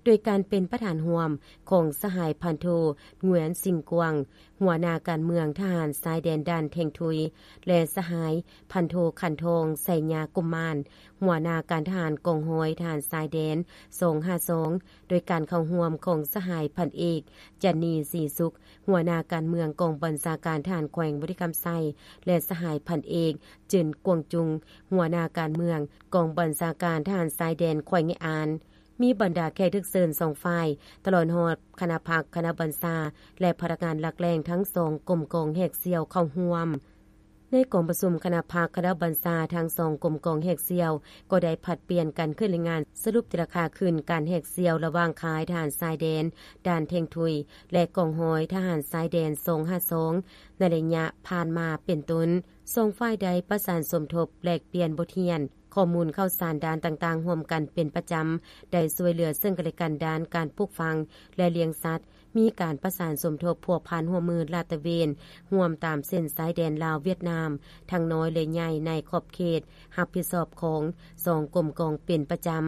ໂດຍການເປັນປະທານຮ່ວມຂອງສະຫາຍພັນໂທ ງວຽນ ສິງກວາງ ຫົວໜ້າການເມືອງທະຫານຊາຍແດນດ່ານແທງທຸຍ ແລະ ສະຫາຍພັນໂທ ຂັນທອງ ໄຊຍາກຸມມານ ຫົວໜ້າການທະຫານກອງຮ້ອຍທະຫານຊາຍແດນ ສອງຫ້າສອງ ໂດຍການເຂົ້າຮ່ວມຂອງສະຫາຍພັນເອກ ຈັນນີ ສີສຸກ ຫົວໜ້າການເມືອງກອງບັນຊາການທະຫານແຂວງບໍລິຄຳໄຊ ແລະ ສະຫາຍພັນເອກ ເຈິນ ກວງຈຸງ ຫົວໜ້າການເມືອງກອງບັນຊາການທະຫານຊາຍແດນແຂວງໄງອານ. ມີບັນດາແຂກຖືກເຊີນສອງຝ່າຍ ຕະຫຼອດຮອດຄະນະພັກ, ຄະນະບັນຊາ ແລະ ພະນັກງານຫຼັກແຫຼ່ງທັງສອງກົມກອງແຫກສ່ຽວເຂົ້າຮ່ວມ. ໃນກອງປະຊຸມຄະນະພັກ, ຄະນະບັນຊາທັງສອງກົມກອງແຫກສ່ຽວ ກໍໄດ້ຜັດປ່ຽນກັນຂຶ້ນລາຍງານສະຫຼຸບແຕ່ລະຄ່າຄືນການແຫກສ່ຽວລະຫວ່າງຄ້າຍທະຫານຊາຍແດນດ່ານແທງທຸຍ ແລະ ກອງຮ້ອຍທະຫານຊາຍແດນ ສອງຫ້າສອງ ໃນໄລຍະຜ່ານມາເປັນຕົ້ນ. ສອງຝ່າຍໄດ້ປະສານສົມທົບ, ແລກປ່ຽນບົດຮຽນ, ຂໍ້ມູນຂ່າວສານດ້ານຕ່າງໆຮ່ວມກັນເປັນປະຈຳ, ໄດ້ຊ່ວຍເຫຼືອເຊິ່ງກັນແລະກັນດ້ານການປູກຝັງ ແລະ ລ້ຽງສັດ, ມີການປະສານສົມທົບພົວພັນຮ່ວມມືລາດຕະເວນຮ່ວມຕາມເສັ້ນຊາຍແດນລາວ-ຫວຽດນາມ ທັງນ້ອຍ ແລະ ໃຫຍ່ ໃນຂອບເຂດຮັບຜິດຊອບຂອງສອງກົມກອງເປັນປະຈຳ.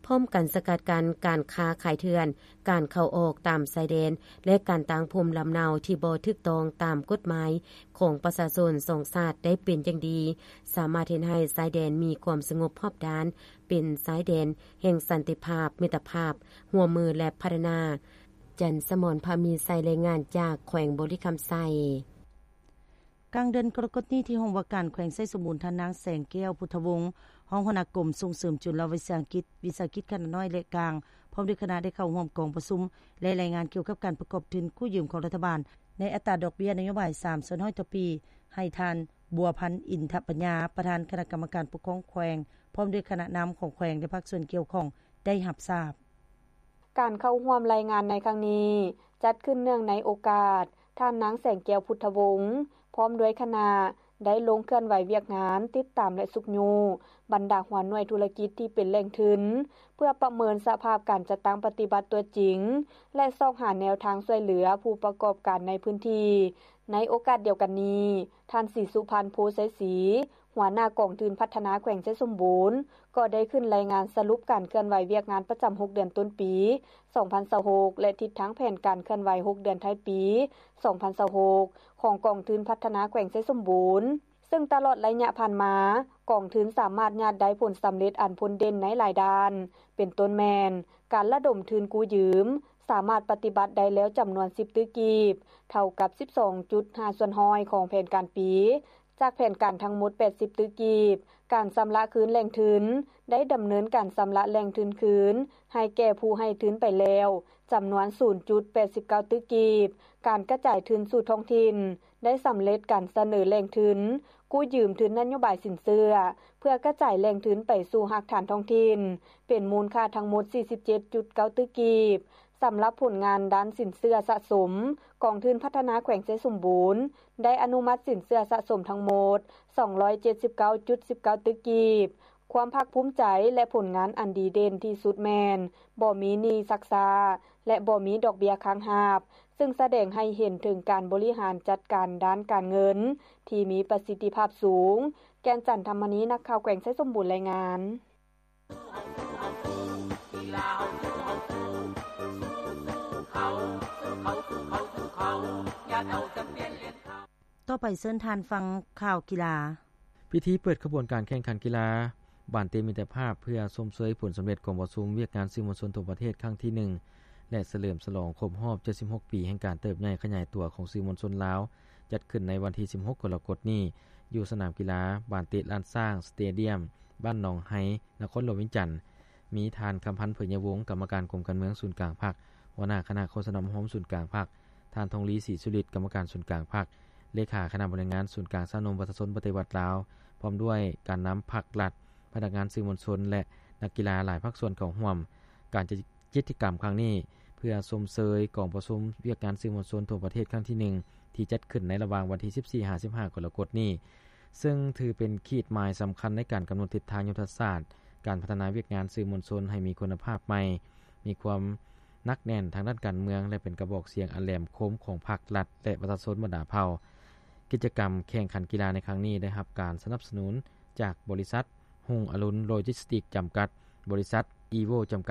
ພ້ອມກັນສະກັດກັ້ນການຄ້າຂາຍເຖື່ອນ, ການເຂົ້າອອກຕາມຊາຍແດນ ແລະ ການຕັ້ງພູມລຳເນົາທີ່ບໍ່ຖືກຕ້ອງຕາມກົດໝາຍຂອງປະຊາຊົນສອງຊາດໄດ້ເປັນຢ່າງດີ, ສາມາດເຮັດໃຫ້ຊາຍແດນມີຄວາມສະຫງົບຮອບດ້ານ, ເປັນຊາຍແດນແຫ່ງສັນຕິພາບ, ມິດຕະພາບ, ຮ່ວມມື ແລະ ພັດທະນາ. ຈັນສະໝອນ ພາມີໄຊ, ລາຍງານຈາກແຂວງບໍລິຄຳໄຊ. ກາງເດືອນກໍລະກົດນີ້ ທີ່ຫ້ອງວ່າການແຂວງໄຊສົມບູນ ທ່ານນາງ ແສງແກ້ວ ພຸດທະວົງ ຮອງຫົວໜ້າກົມສົ່ງເສີມຈຸລະວິສາຫະກິດ, ວິສາຫະກິດຂະໜາດນ້ອຍ ແລະ ກາງ ພ້ອມດ້ວຍຄະນະ ໄດ້ເຂົ້າຮ່ວມກອງປະຊຸມ ແລະ ລາຍງານກ່ຽວກັບການປະກອບທຶນກູ້ຢືມຂອງລັດຖະບານ ໃນອັດຕາດອກເບ້ຍນະໂຍບາຍ ສາມສ່ວນຮ້ອຍຕໍ່ປີ ໃຫ້ທ່ານ ບົວພັນ ອິນທະປັນຍາ ປະທານຄະນະກຳມະການປົກຄອງແຂວງ ພ້ອມດ້ວຍຄະນະນຳຂອງແຂວງ ແລະ ພາກສ່ວນກ່ຽວຂ້ອງໄດ້ຮັບຊາບ. ການເຂົ້າຮ່ວມລາຍງານໃນຄັ້ງນີ້ ຈັດຂຶ້ນເນື່ອງໃນໂອກາດ ທ່ານນາງ ແສງແກ້ວ ພຸດທະວົງ ພ້ອມດ້ວຍຄະນະ ໄດ້ລົງເຄື່ອນໄຫວວຽກງານ ຕິດຕາມ ແລະ ຊຸກຍູ້ບັນດາຫົວໜ່ວຍທຸລະກິດທີ່ເປັນແຫຼ່ງທຶນ ເພື່ອປະເມີນສະພາບການຈັດຕັ້ງປະຕິບັດຕົວຈິງ ແລະ ຊອກຫາແນວທາງຊ່ວຍເຫຼືອຜູ້ປະກອບການໃນພື້ນທີ່. ໃນໂອກາດດຽວກັນນີ້, ທ່ານ ສີສຸພັນ ໂພໄຊສີ ຫົວໜ້າກອງທຶນພັດທະນາແຂວງໄຊສົມບູນ ກໍໄດ້ຂຶ້ນລາຍງານສະຫຼຸບການເຄື່ອນໄຫວວຽກງານປະຈຳຫົກເດືອນຕົ້ນປີສອງພັນຊາວຫົກ ແລະ ທິດທາງແຜນການເຄື່ອນໄຫວຫົກເດືອນທ້າຍປີສອງພັນຊາວຫົກ ຂອງກອງທຶນພັດທະນາແຂວງໄຊສົມບູນ, ເຊິ່ງຕະຫຼອດໄລຍະຜ່ານມາ, ກອງທຶນສາມາດຍາດໄດ້ຜົນສຳເລັດອັນພົ້ນເດັ່ນໃນຫຼາຍດ້ານ, ເປັນຕົ້ນແມ່ນ ການລະດົມທຶນກູ້ຢືມ ສາມາດປະຕິບັດໄດ້ແລ້ວຈຳນວນສິບຕື້ກີບ, ເທົ່າກັບສິບສອງຈຸດຫ້າສ່ວນຮ້ອຍຂອງແຜນການປີ, ຈາກແຜນການທັງໝົດແປດສິບຕື້ກີບ, ການຊຳລະຄືນແຫຼ່ງທຶນ ໄດ້ດຳເນີນການຊຳລະແຫຼ່ງທຶນຄືນໃຫ້ແກ່ຜູ້ໃຫ້ທຶນໄປແລ້ວ ຈຳນວນສູນຈຸດແປດສິບເກົ້າຕື້ກີບ, ການກະຈາຍທຶນສູ່ທ້ອງຖິ່ນ ໄດ້ສຳເລັດການສະເໜີແຫຼ່ງທຶນກູ້ຢືມທຶນນະໂຍບາຍສິນເຊື່ອ ເພື່ອກະຈາຍແຫຼ່ງທຶນໄປສູ່ຮາກຖານທ້ອງຖິ່ນ ເປັນມູນຄ່າທັງໝົດສີ່ສິບເຈັດຈຸດເກົ້າຕື້ກີບ. ສຳລັບຜົນງານດ້ານສິນເຊື່ອສະສົມ, ກອງທຶນພັດທະນາແຂວງໄຊສົມບູນ ໄດ້ອະນຸມັດສິນເຊື່ອສະສົມທັງໝົດສອງຮ້ອຍເຈັດສິບເກົ້າຈຸດສິບເກົ້າຕື້ກີບ. ຄວາມພາກພູມໃຈ ແລະ ຜົນງານອັນດີເດັ່ນທີ່ສຸດແມ່ນ ບໍ່ມີໜີ້ຊັກຊ້າ ແລະ ບໍ່ມີດອກເບ້ຍຄ້າງຮັບ, ເຊິ່ງສະແດງໃຫ້ເຫັນເຖິງການບໍລິຫານຈັດການດ້ານການເງິນທີ່ມີປະສິດທິພາບສູງ. ແກ່ນຈັນ ທຳມະນີ ນັກຂ່າວແຂວງໄຊສົມບູນ ລາຍງານ. ຕໍ່ໄປເຊີນທ່ານຟັງຂ່າວກິລາ. ພິທີເປີດຂະບວນການແຂ່ງຂັນກິລາບານເຕະມິດຕະພາບ ເພື່ອຊົມເຊີຍຜົນສຳເລັດກອງປະຊຸມວຽກງານສື່ມວນຊົນທົ່ວປະເທດຄັ້ງທີໜຶ່ງ ແລະ ສະເຫຼີມສະຫຼອງຄົບຮອບເຈັດສິບຫົກປີແຫ່ງການເຕີບໃຫຍ່ຂະຫຍາຍຕົວຂອງສື່ມວນຊົນລາວ ຈັດຂຶ້ນໃນວັນທີສິບຫົກ ກໍລະກົດນີ້ ຢູ່ສະໜາມກິລາບານເຕະລ້ານຊ້າງ ສະເຕດຽມ ບ້ານໜອງໄຮ ນະຄອນຫຼວງວຽງຈັນ. ມີທ່ານ ຄຳພັນ ເຜີຍຍະວົງ ກຳມະການກົມການເມືອງສູນກາງພັກ, ຫົວໜ້າຄະນະໂຄສະນາອົບຮົມສູນກາງພັກ, ທ່ານ ທອງລີ ສີສຸລິດ ກຳມະການສູນກາງພັກ, ເລຂາຄະນະບໍລິຫານງານສູນກາງຊາວໜຸ່ມປະຊາຊົນປະຕິວັດລາວ, ພ້ອມດ້ວຍການນຳພັກລັດ, ພະນັກງານສື່ມວນຊົນ ແລະ ນັກກິລາຫຼາຍພາກສ່ວນເຂົ້າຮ່ວມ. ການຈັດກິດຈະກຳຄັ້ງນີ້ ເພື່ອຊົມເຊີຍກອງປະຊຸມວຽກງານສື່ມວນຊົນທົ່ວປະເທດຄັ້ງທີໜຶ່ງ ທີ່ຈັດຂຶ້ນໃນລະຫວ່າງວັນທີສິບສີ່ ຫາ ສິບຫ້າ ກໍລະກົດນີ້, ເຊິ່ງຖືເປັນຂີດໝາຍສຳຄັນໃນການກຳນົດທິດທາງຍຸດທະສາດການພັດທະນາວຽກງານສື່ມວນຊົນໃຫ້ມີຄຸນນະພາບໃໝ່, ມີຄວາມໜັກແໜ້ນທາງດ້ານການເມືອງ ແລະ ເປັນກະບອກສຽງອັນແຫຼມຄົມຂອງພັກລັດ ແລະ ປະຊາຊົນບັນດາເຜົ່າ. ກິດຈະກຳແຂ່ງຂັນກິລາໃນຄັ້ງນີ້ ໄດ້ຮັບການສະໜັບສະໜູນຈາກບໍລິສັດ ຮຸ່ງອະລຸນໂລຈິສຕິກ ຈຳກັດ, ບໍລິສັດ ອີໂວ ຈຳ